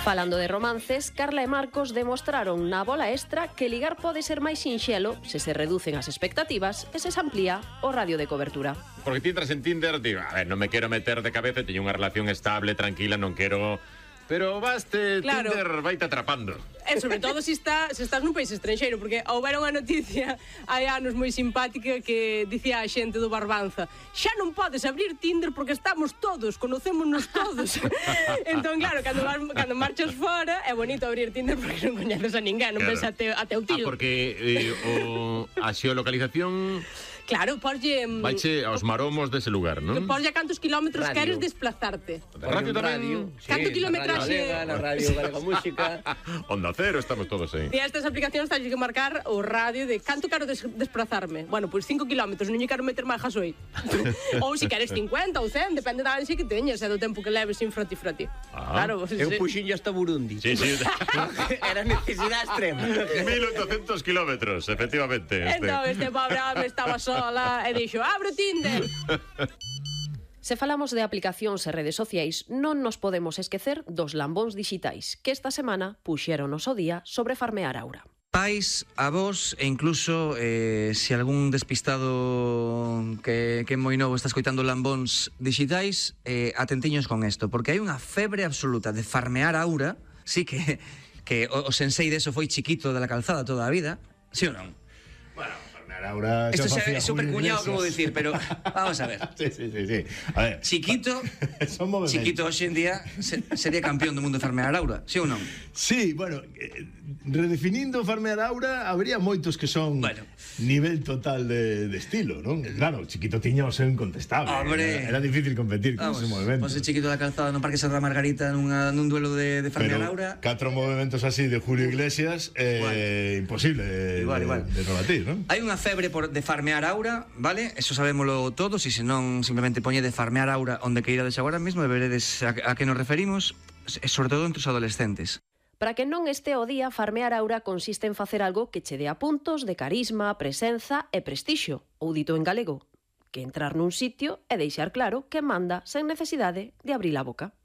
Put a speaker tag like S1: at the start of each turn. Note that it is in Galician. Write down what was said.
S1: Falando de romances, Carla e Marcos demostraron na bola extra que ligar pode ser máis sinxelo se se reducen as expectativas e se amplía o radio de cobertura.
S2: Porque ti entras en Tinder, digo, a ver, non me quero meter de cabeza, teño unha relación estable, tranquila, non quero... Pero baste, claro. Tinder vaite atrapando.
S3: E sobre todo se estás nun país estranxeiro, porque houbera unha noticia hai anos moi simpática que dicía a xente do Barbanza: xa non podes abrir Tinder porque estamos todos, conocémonos todos. Entón, claro, cando marchas fora é bonito abrir Tinder porque non coñeces a ninguén, non ves até o tío.
S2: Porque a xeolocalización...
S3: Claro, porlle...
S2: Vaiche aos maromos dese lugar, non?
S3: Que porlle a cantos kilómetros queres desplazarte.
S2: Radio tamén...
S3: Canto kilometraxe...
S4: Na Radio Galega Música...
S2: Onda Cero, estamos todos aí.
S3: E estas aplicacións teñen que marcar o radio de canto quero desplazarme. Bueno, pois 5 kilómetros, non lle quero meter máis gasoil. Ou se queres 50 ou 100, depende da ansia que teñas e do tempo que leves sin froti. Claro,
S4: Eu puxinlle hasta Burundi.
S2: Sí.
S4: Era necesidade extrema.
S2: 1800 kilómetros, efectivamente.
S3: Entón, este pobre home estaba sola e dixo, abre Tinder.
S1: Se falamos de aplicacións e redes sociais, non nos podemos esquecer dos lambóns dixitais que esta semana puxeron o día sobre farmear aura.
S5: Pais, avós e incluso se algún despistado que é moi novo está escoitando lambóns digitais, atentiños con isto, porque hai unha febre absoluta de farmear aura. Sí que o sensei deso foi Chiquito de la Calzada toda a vida, sí ou non?
S6: Bueno, Aura,
S5: esto é super cuñado que vou dicir, pero vamos a ver.
S6: Sí. A ver,
S5: Chiquito hoxe en día sería campeón do mundo de farmear aura, sí ou non?
S6: Sí, bueno, redefinindo farmear aura, habría moitos que son nivel total de estilo, non? Claro, Chiquito tiña o seu incontestable. Era difícil competir con ese movimento.
S5: Pois Chiquito da Calzada no Parque Santa Margarita nun duelo de farmear aura.
S6: 4 movimentos así de Julio Iglesias, imposible de rebatir, non?
S5: Hai unha febre de farmear aura, vale? Eso sabémolo todos, e se non, simplemente poñe de farmear aura onde que irades agora mesmo e veredes a que nos referimos, e sobre todo entre os adolescentes.
S1: Para que non este o día, farmear aura consiste en facer algo que che dea puntos de carisma, presenza e prestixio, ou dito en galego, que entrar nun sitio e deixar claro que manda sen necesidade de abrir a boca.